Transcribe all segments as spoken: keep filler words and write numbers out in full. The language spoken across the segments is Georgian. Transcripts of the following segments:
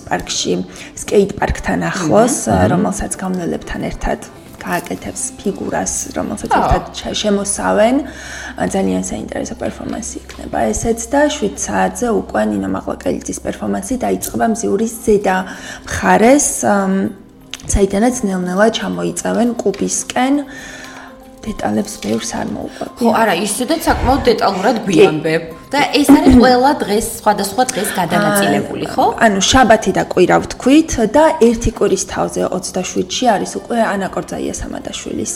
პარკში, სკეით პარკთან ახლოს, რომელსაც გამნელებთან ერთად გააკეთებს ფიგურას, რომელსაც ერთად შემოსავენ. ძალიან საინტერესო პერფორმანსი იქნება ესეც და შვიდ საათზე უკვე ნინო მაღლაკელიძის პერფორმანსი დაიწყება მზიურის ზედა მხარეს, საიდანაც ნელ-ნელა ჩამოიწევენ კუბისკენ. დეტალებს ბევრს არ მოვყვებ. ხო, არა, ისედაც საკმაოდ დეტალურად გვიამბებ. და ეს არის ყველა დღეს, სხვადასხვა დღეს გადანაწილებული, ხო? ანუ შაბათი და კვირა ვთქვით და ერთი კვირის თავზე ოცდაშვიდში არის უკვე ანა კორძაია სამადაშვილის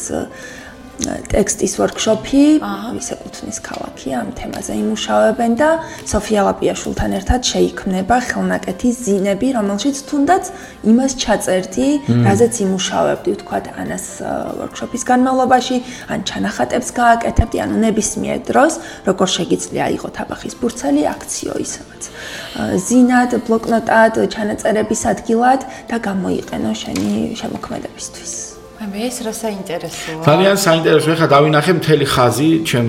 ტექსტის ვორქშოპი, ვის ეკუთვნის ქალაქი, ამ თემაზე იმუშავებენ და სოფია ლაპიაშვილთან ერთად შეიქმნება ხელნაკეთი ზინები, რომელშიც თუნდაც იმას ჩაწერდი, რაზეც იმუშავებდი, ვთქვათ, ანას ვორქშოპის განმავლობაში, ან ჩანახატებს გააკეთებდი, ანუ ნებისმიერ დროს, როგორ შეგიძლია აიღოთ აბახის ბურცელი აქციო ისევაც. ზინად, ბლოკნოტად, ჩანაწერების ადგილად და გამოიყენო შენი შემოქმედებისთვის. მე ეს რა საინტერესოა. ძალიან საინტერესო. ეხლა დავინახე მთელი ხაზი, ჩემ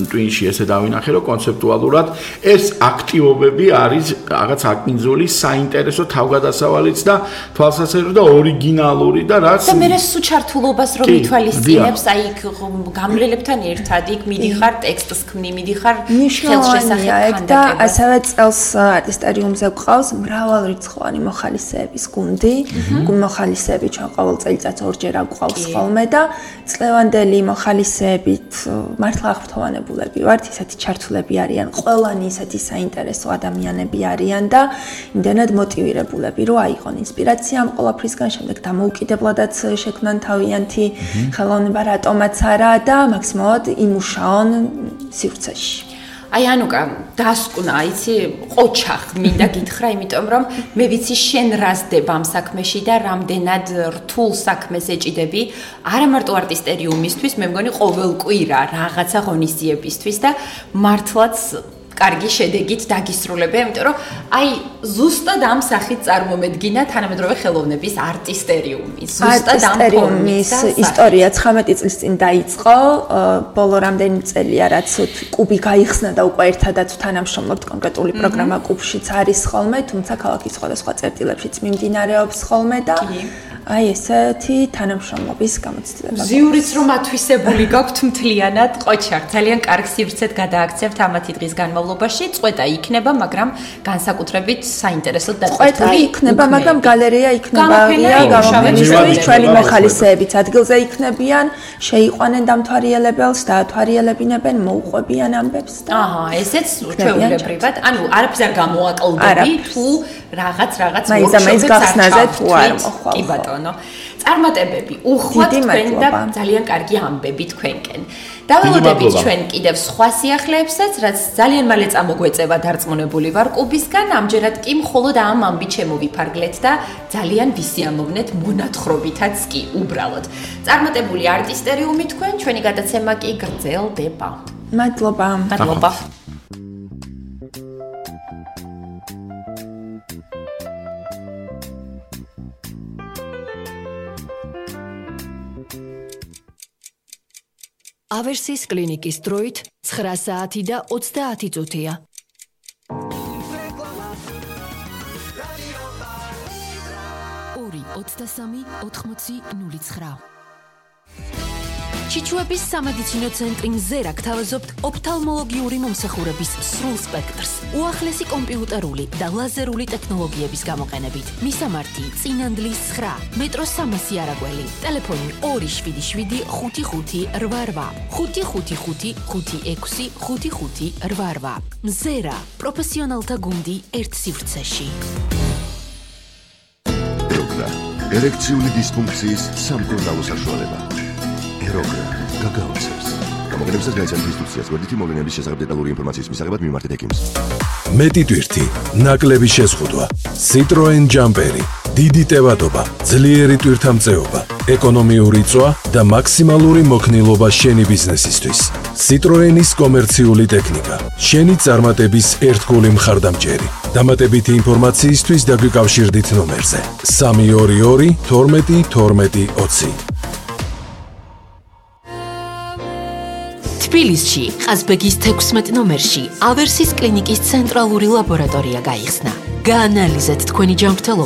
ტვინში ესე დავინახე, რომ კონცეპტუალურად ეს აქტივობები არის რაღაც აკინძული, საინტერესო თავგადასავალიც და თვალსაჩინო და ორიგინალური და რაც და მე სუჩართულობას რომ ითვალისწინებს, აი გამრელებთან ერთად იქ მიდიხარ ტექსტს ქმნი, მიდიხარ ხელშესახებ და ასევე წელს არტისტერიუმზე გვყავს მრავალრიცხოვანი მოხალისეების გუნდი, მოხალისეები ჩვენ ყოველ წელიწადს ორჯერ გვყავს ხოლმე და წლევანდელი მოხალისეებით მართლა აღფრთოვანებულები ვართ, ისეთი ჩართულები არიან, ყველანი ისეთი საინტერესო ადამიანები არიან და იმდენად მოტივირებულები, რომ აიღონ ინსპირაცია ამ ყველაფრისგან, შემდეგ დამოუკიდებლადაც შექმნან თავიანთი ხელოვნება, რატომაც არა და მაქსიმალურად იმუშაონ სივრცეში. აი ანუკა, დასკვნა, იცი, ყოჩახ მინდა გითხრა, იმიტომ რომ მე ვიცი შენ რასდება ამ საქმეში და რამდენად რთულ საქმეს ეჭიდები, არა მარტო არტისტერიუმისთვის, მე მგონი ყოველ კვირა რაღაცა ღონისძიებისთვის და მართლაც კარგი შედეგით დაგისრულებ, იმიტომ რომ აი ზუსტად ამ სახით წარმომედგინა თანამედროვე ხელოვნების არტისტერიუმი. ზუსტად ამ არტისტერიუმის ისტორია ცხრამეტი წლის წინ დაიწყო, ბოლო რამდენი წელია, რაც კუბი გაიხსნა და უკვე ერთადაც თანამშრომლობთ, კონკრეტული პროგრამა კუბშიც არის ხოლმე, თუმცა ქალაქის სხვადასხვა წერტილებშიც მიმდინარეობს ხოლმე და აი ესეთი თანამშრომლობის გამოცდილება. ზიურიც რომ ათვისებული გაქვთ მთლიანად, ყოჩარ, ძალიან კარგ სივრცეთ გადააქცევთ ამათი დღის განმავლობაში, წვეტა იქნება, მაგრამ განსაკუთრებით საინტერესოდ დაწყვეტილი იქნება, მაგრამ გალერეა იქნება, გამოფენისთვის ჩვენი მოხალისეებიც ადგილზე იქნებიან, შეიყვანენ დამთვალიერებელს, დაათვალიერებინებენ, მოუყვებიან ამბებს და აჰა, ესეც ჩვეულებრივად, ანუ არაფერს არ გამოაკლდები, თუ რაღაც რაღაც ვორქშოპებს გახსნაზე თუ არ მოხვალ. კი ბატონო. წარმატებები, უხვად თქვენ და ძალიან კარგი ამბები თქვენკენ. დაველოდებით ჩვენ კიდევ სხვა სიახლეებსაც, რაც ძალიან მალე წამოგვეწევა დარწმუნებული ვარ კუბისგან, ამჯერად კი მხოლოდ ამ ამბით შემოვიფარგლეთ და ძალიან ვისიამოვნეთ მონათხრობითაც კი უბრალოდ. წარმატებული არტისტერიუმი თქვენ, ჩვენი გადაცემა კი გრძელდება. მადლობა. მადლობა. ავერსის კლინიკის დროით ცხრა საათი და ოცდაათი წუთია. ორი ოცდასამი ოთხმოცი ნული ცხრა. ჩიჩუების სამედიცინო ცენტრი მზერა გთავაზობთ ოფთალმოლოგიური მომსახურების სრულ სპექტრს, უახლესი კომპიუტერული და ლაზერული ტექნოლოგიების გამოყენებით. მისამართი წინანდლის ცხრა, მეტრო სამასი არაგველი, ტელეფონი ორი შვიდი შვიდი ხუთი ხუთი რვა რვა, ხუთი ხუთი ხუთი ხუთი ექვსი ხუთი ხუთი რვა რვა. მზერა, პროფესიონალთა გუნდი ერთ სივრცეში. ეროგრა, ერექციული დისფუნქციის სამკურნალო საშუალება. ეროგრა, გაგაოცებს. გამოგონებისას გაიცანთ ინსტრუქციას, გვერდითი მოვლენების შესახებ დეტალური ინფორმაციის მისაღებად მიმართეთ ექიმს. მეტი ტვირთი, ნაკლები შეზღუდვა, Citroen Jumperi, დიდი ტევადობა, ძლიერი ტვირთამწეობა, ეკონომიური წვა და მაქსიმალური მოქნილობა შენი ბიზნესისთვის. Citroenis კომერციული ტექნიკა, შენი წარმატების ერთგული მხარდამჭერი. დამატებითი ინფორმაციისთვის დაგვიკავშირდით ნომერზე სამი ორი ორი თორმეტი თორმეტი ოცი. თბილისში, ყაზბეგის თექვსმეტ ნომერში, ავერსის კლინიკის ცენტრალური ლაბორატორია გაიხსნა. გაანალიზეთ თქვენი ჯანმრთელობა.